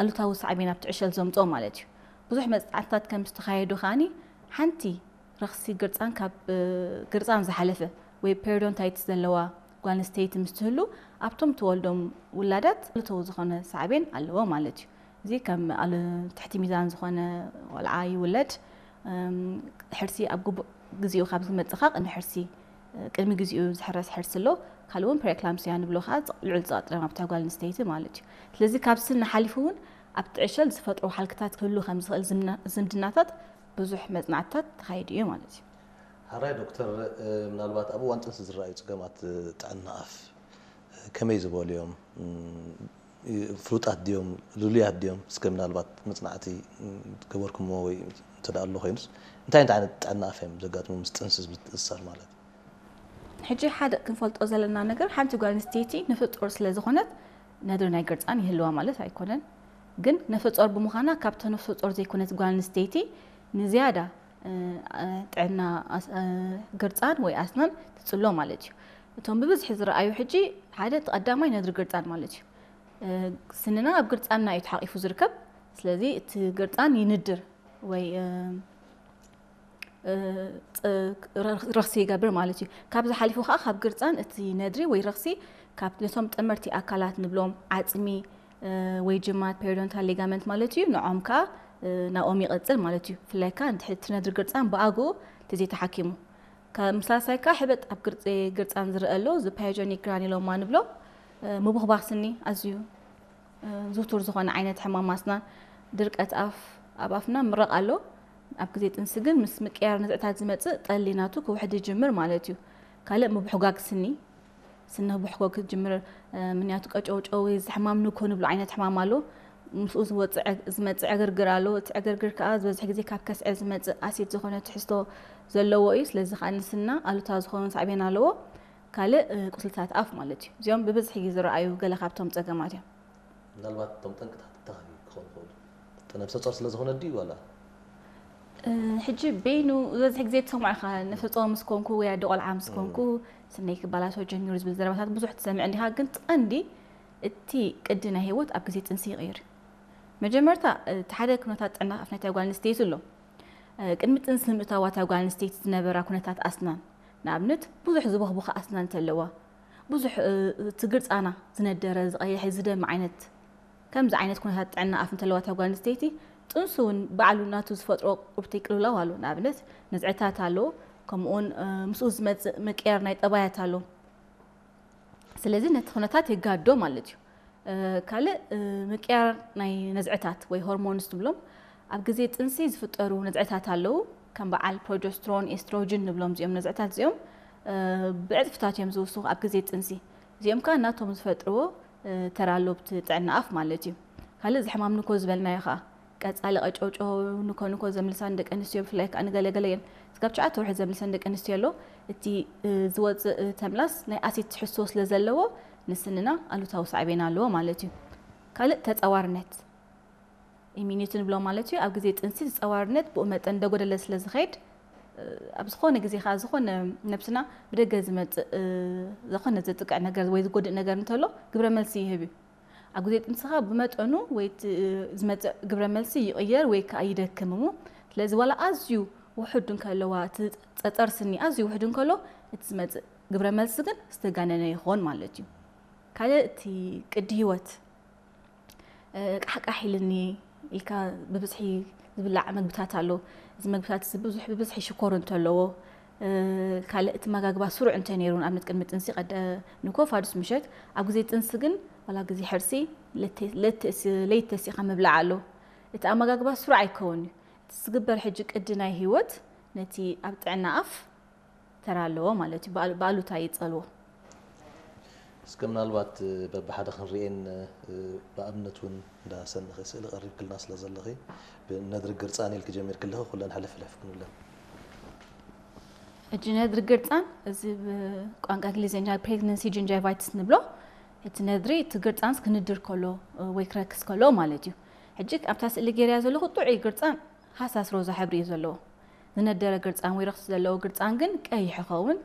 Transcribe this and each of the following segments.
ኣሉታዊ ሳዕቤን ኣብቲ ዕሸል ዘምፅኦ ማለት እዩ። ብዙሕ መፅናዕትታት ከም ዝተኻየዱ ከዓኒ ሓንቲ ረኽሲ ግርፃን ካብ ግርፃን ዝሓለፈ ወይ ፔሪዶንታይትስ ዘለዋ ጓል ኣንስተይቲ ምስ ትህሉ ኣብቶም ትወልዶም ውላዳት ኣሉታዊ ዝኾነ ሳዕቤን ኣለዎ ማለት እዩ። እዚ ከም ኣሉ ትሕቲ ሚዛን ዝኾነ ቆልዓ ይውለድ፣ ሕርሲ ኣብ ግቡእ ግዜኡ ካብ ዝመፅእ ከዓ ቅድሚ ሕርሲ ቅድሚ ግዜኡ ዝሕረስ ሕርሲ ኣሎ። ካልእ እውን ፕሬክላምሲያ ንብሎ ከዓ ልዑል ፀቕጢ ደም ኣብታ ጓል ኣንስተይቲ ማለት እዩ። ስለዚ ካብ ስኒ ሓሊፉ እውን ኣብቲ ዕሸል ዝፈጥሮ ሃልክታት ክህሉ ከም ዝኽእል ዝምድናታት ብዙሕ መፅናዕትታት ተኻይዱ እዩ ማለት እዩ። ሓራይ ዶክተር፣ ምናልባት ኣብ እዋን ጥንሲ ዝረኣዩ ፀገማት ጥዕና ኣፍ ከመይ ዝበሉ እዮም? ፍሉጣት ድዮም ልሉያት ድዮም? እስከ ምናልባት መፅናዕቲ ገበርኩምዎ ወይ እንተ ኣሎ ኮይኑስ እንታይ እንታይ ዓይነት ጥዕና ኣፍ እዮም ዘጋጥሙ ምስ ጥንሲ ዝምትእሳር ማለት እዩ? ሕጂ ሓደ ክንፈልጦ ዘለና ነገር ሓንቲ ጓል ኣንስተይቲ ነፍሰ ጡር ስለ ዝኾነት ነድሪ ናይ ግርፃን ይህልዋ ማለት ኣይኮነን። ግን ነፍሰ ጡር ብምዃና ካብታ ነፍሰ ጡር ዘይኮነት ጓል ኣንስተይቲ ንዝያዳ ጥዕና ግርፃን ወይ ኣስናን ትፅሎ ማለት እዩ። እቶም ብብዝሒ ዝረኣዩ ሕጂ ሓደ እቲ ቀዳማይ ነድሪ ግርፃን ማለት እዩ። ስንና ኣብ ግርፃንና እዩ ተሓቂፉ ዝርከብ። ስለዚ እቲ ግርፃን ይንድር ወይ ረኽሲ ይገብር ማለት እዩ። ካብዚ ሓሊፉ ከዓ ካብ ግርፃን እቲ ነድሪ ወይ ረኽሲ ካብ ነቶም ጠመርቲ ኣካላት ንብሎም ዓፅሚ ወይ ጅማት ፔሪዶንታል ሊጋመንት ማለት እዩ፣ ንዖም ከዓ ናኦም ይቐፅል ማለት እዩ። ብፍላይ ከዓ እንድሕር እቲ ነድሪ ግርፃን ብኣግኡ እንተዘይተሓኪሙ። ካብ ሳልሳይ ከዓ ሕበጥ ኣብ ግርፂ ግርፃን ዝረአ ኣሎ፣ እዚ ፓዮጆኒክ ግራኒሎማ ንብሎ። ምቡኽባኽ ስኒ ኣዝዩ ዝውቱር ዝኾነ ዓይነት ሕማም ኣስናን ድርቀት ኣፍ ኣብ ኣፍና ምረቕ ኣሎ። ኣብ ግዜ ጥንሲ ግን ምስ ምቅያር ነዝዕታት ዝመፅእ ጠሊ ናቱ ክውሕድ ይጅምር ማለት እዩ። ካልእ ምብሕጓግ ስኒ ስኒ ብሕጎ ክትጅምር ምክንያቱ ቀጨውጨው ወይ እዚ ሕማም ንኮ ንብሎ ዓይነት ሕማም ኣሎ። ምስኡ ዝመፅእ ዕግርግር ኣሎ። እቲ ዕግርግር ከዓ ዝበዝሕ ግዜ ካብ ከስዐ ዝመፅእ ኣሲድ ዝኾነ ትሕዝቶ ዘለዎ እዩ። ስለዚ ከዓ ንስና ኣሉታ ዝኾኑ ሳዕቤን ኣለዎ። ካልእ ቁስልታት ኣፍ ማለት እዩ። እዚኦም ብብዝሒ ዝረኣዩ ገለ ካብቶም ፀገማት እዮም። ምናልባት እቶም ጠንቅታት እንታይ ክኾኑ ይኽእሉ? ነብሰ ጾር ስለ ዝኾነ ድዩ ዋላ? ሕጂ በይኑ ዝበዝሕ ግዜ ትሰምዖ ኢኻ፣ ነፍሰ ጾር ምስ ኮንኩ ወይ ኣደ ቆልዓ ምስ ኮንኩ ስነይ ክባላሾ ጀሚሩ ዝብል ዘረባታት ብዙሕ ትሰምዕ እንዲኻ። ግን እቲ ቀንዲ እቲ ቅዲ ናይ ህይወት ኣብ ግዜ ጥንሲ ይቕይር። መጀመርታ እቲ ሓደ ኩነታት ጥዕና ኣፍ ናይታ ጓል ኣንስተይቲ ኣሎ። ቅድሚ ጥንሲ ንምእታዋ እታ ጓል ኣንስተይቲ ዝነበራ ኩነታት ኣስናን፣ ንኣብነት ብዙሕ ዝቦኽቦኸ ኣስናን እንተለዋ፣ ብዙሕ እቲ ግርጻና ዝነደረ ዝቐየሐ ዝደሚ ዓይነት ከምዚ ዓይነት ኩነታት ጥዕና ኣፍ እንተለዋ እታ ጓል ኣንስተይቲ ጥንሱ እውን ባዕሉ ናቱ ዝፈጥሮ ቁብቲ ቅልውላው ኣሎ። ንኣብነት ነዝዕታት ኣሎ፣ ከምኡውን ምስኡ ዝመፅእ ምቅያር ናይ ጠባያት ኣሎ። ስለዚ ነቲ ኩነታት የጋዶ ማለት እዩ። ካልእ ምቅያር ናይ ነዝዕታት ወይ ሆርሞንስ ትብሎም ኣብ ግዜ ጥንሲ ዝፍጠሩ ነዝዕታት ኣለዉ። ከም በዓል ፕሮጀስትሮን ኤስትሮጅን ንብሎም እዚኦም ነዝዕታት እዚኦም ብዕፅፍታት እዮም ዝውስኹ ኣብ ግዜ ጥንሲ። እዚኦም ከዓ ናቶም ዝፈጥርዎ ተራ ኣለዎ ኣብቲ ጥዕና ኣፍ ማለት እዩ። ካልእ እዚ ሕማም ንኮ ዝበልናዮ ከዓ ቀፃሊ ቀጨውጨው ንኮ ንኮ ዘምልሳ ንደቂ ኣንስትዮ ብፍላይ ከዓ ንገለገለ እየን እስካብ ትሽዓተ ወርሒ ዘምልሰን ደቂ ኣንስትዮ ኣሎ። እቲ ዝወፅእ ተምላስ ናይ ኣሲድ ትሕዝቶ ስለ ዘለዎ ንስንና ኣሉታዊ ሳዕቤን ኣለዎ ማለት እዩ። ካልእ ተፀዋርነት ኢሚኒቲ ንብሎ ማለት እዩ። ኣብ ግዜ ጥንሲ ተፀዋርነት ብኡ መጠን እንዳጎደለ ስለ ዝኸይድ ኣብ ዝኾነ ግዜ ከዓ ዝኾነ ነብስና ብደገ ዝመፅእ ዝኾነ ዘጥቅዕ ነገር ወይ ዝጎድእ ነገር እንተሎ ግብረ መልሲ ይህብ እዩ። ኣብ ግዜ ጥንስኻ ብመጠኑ ወይ ዝመፅእ ግብረ መልሲ ይቕየር ወይ ከዓ ይደክም እሞ ስለዚ ዋላ ኣዝዩ ውሑድ እንከለዋ እቲ ፀፀር ስኒ ኣዝዩ ውሑድ እንከሎ እቲ ዝመፅእ ግብረ መልሲ ግን ዝተጋነነ ይኾን ማለት እዩ። ካልእ እቲ ቅዲ ህይወት ቃሕቃሕ ኢልኒ ኢልካ ብብዝሒ ዝብላዕ መግብታት ኣሎ። እዚ መግብታት እዚ ብዙሕ ብብዝሒ ሽኮር እንተለዎ ካልእ እቲ መጋግባ ስሩዕ እንተ ነይሩ ንኣብነት ቅድሚ ጥንሲ ቀደ ንኮ ፋዱስ ምሸት ኣብ ግዜ ጥንሲ ግን ዋላ ግዜ ሕርሲ ለይተሲኻ ምብላዕ ኣሎ። እቲ ኣመጋግባ ስሩዕ ኣይከውን እዩ። እቲ ዝግበር ሕጂ ቅዲ ናይ ህይወት ነቲ ኣብ ጥዕና ኣፍ ተራ ኣለዎ ማለት እዩ። ብኣሉታ ይፀልዎ። እስከ ምናልባት በብሓደ ክንርእየን ብኣብነት እውን እንዳሰንኺ ስእሊ ቀሪብክልና ስለ ዘለኺ ብነድሪ ግርፃን ኢልኪ ጀሚርክለኺ ኩለን ሕልፍ ሕልፍ ክንብለን። ሕጂ ነድሪ ግርፃን እዚ ብቋንቋ እንግሊዝኛ ፕሬግነንሲ ጅንጃይቫይትስ ንብሎ። እቲ ነድሪ እቲ ግርፃንስ ክንድር ከሎ ወይ ክረክስ ከሎ ማለት እዩ። ሕጂ ኣብታ ስእሊ ገይርያ ዘለኹ ጥዑይ ግርፃን ሃሳስ ሮዛ ሕብሪ እዩ ዘለዎ። ዝነደረ ግርፃን ወይ ረኽሲ ዘለዎ ግርፃን ግን ቀይሕ ይኸውን፣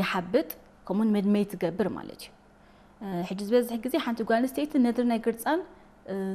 ይሓብጥ፣ ከምኡውን መድመይቲ ይገብር ማለት እዩ። ሕጂ ዝበዝሕ ግዜ ሓንቲ ጓል ኣንስተይቲ ነድሪ ናይ ግርፃን